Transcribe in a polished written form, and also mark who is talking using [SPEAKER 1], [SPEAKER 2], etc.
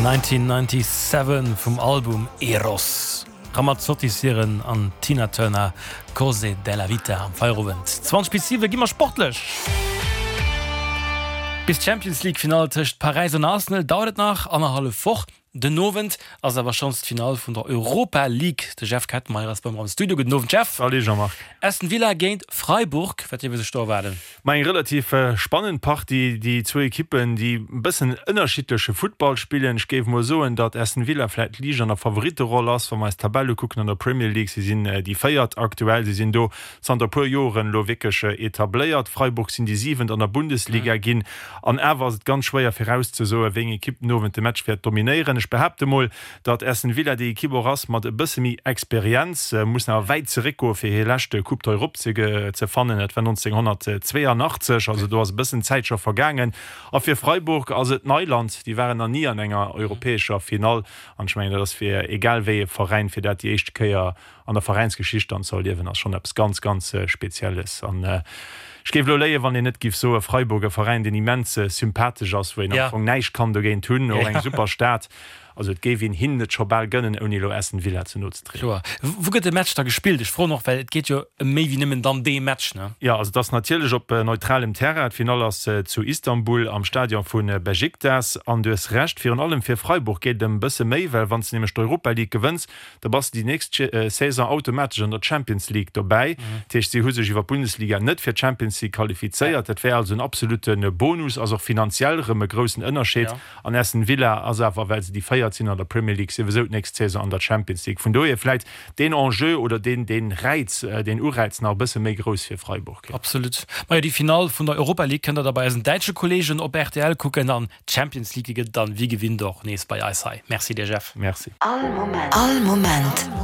[SPEAKER 1] 1997 vum Album Eros. Ramazzotti Siren an Tina Turner, Cose della vita am Feierowend. 20 bis 7 gi mer sportlech. Bis d'Champions League Finall tëscht Paräis an Arsenal dauert et nach annerhallef Woch. Den Owend ass awer schonns d'Finall vun der Europa League. De Jeff Kettenmeyer ass bei mer am Studio. Gudden Owend Jeff.
[SPEAKER 2] Salut Jean-Marc.
[SPEAKER 1] Aston Villa géint Freiburg, wat dierf ee sech do erwaarden?
[SPEAKER 2] Ma eng relativ spannend Partie. Déi zwou Ekippen, déi e bëssen ënnerschiddleche Futtball spillen. Ech géif mol soen, datt Aston Villa vläicht liicht an der Favoritteroll ass, wa mer eis d'Tabell ukucken an der Premier League. Si sinn déi Véiert aktuell. Si sinn do zanter e puer Joren elo wierklech etabléiert. Freiburg sinn déi Siwent an der Bundesliga ginn. An awer ass et ganz schwéier virauszesoen, wéi eng Ekipp den Owend de Match wäert dominéieren. Ech behaapte mol, datt Aston Villa déi Ekipp och ass mat e bësse méi Experienz, mussen awer wäit zeréckgoe fir hir lescht Coupe d'Europe ze fannen. Dat war 1982, also do ass e bëssen Zäit scho vergaangen. A fir Freiburg ass et Neiland, déi waren nach ni an enger europäescher Finall. An ech mengen, dat ass fir egal wéi ee Veräin, fir dat déi éischte Kéier an der Veräinsgeschicht dann ze erliewen, ass schonn eppes ganz, ganz Spezielles. An ech géif elo léien, wann een net géif soen, Freiburg, e Veräin, deen immens sympathesch ass, wou een am Fong näischt kann dogéint hunn, och eng super Stad. Also et géif een hinnen et scho bal gënnen, ouni elo Aston Villa ze no ze trieden.
[SPEAKER 1] Kloer. Wou gëtt de Match da gespillt? Ech froen och, well et geet jo ëm méi wéi nëmmen dann dee Match, ne?
[SPEAKER 2] Jo, also et ass natierlech op neutralem Terrain. D'Finall ass zu Istanbul am Stadion vu Besiktas. An du hues Recht, virun allem fir Freiburg geet et ëm e bësse méi, well wann s de nämlech d'Europa League gewënns, Da bass de déi nächst Saison automatesch an der Champions League dobäi. Dat heescht, si hu sech iwwer d'Bundesliga net fir d'Champions League qualifizéiert. Dat wär also en absolutte Bonus, ass och finanziell erëm e groussen Ënnerscheed. An Aston Villa ass awer, well se déi Véiert sinn an der Premier League, souwisou d'nächst Saison an der Champions League. Vun dohier vläit deen Enjeu oder deen, deen Räiz, deen Uräiz nach e bësse méi grouss fir Freiburg.
[SPEAKER 1] Absolut. Majo, déi Finall vun der Europa League kënnt der da bei eisen däitsche Kolleegen op rtl kucken an D'Champions League, déi gëtt et dann wéi gewinnt och nees bei eis hei. Merci dir Jeff.
[SPEAKER 2] Merci.
[SPEAKER 3] All Moment.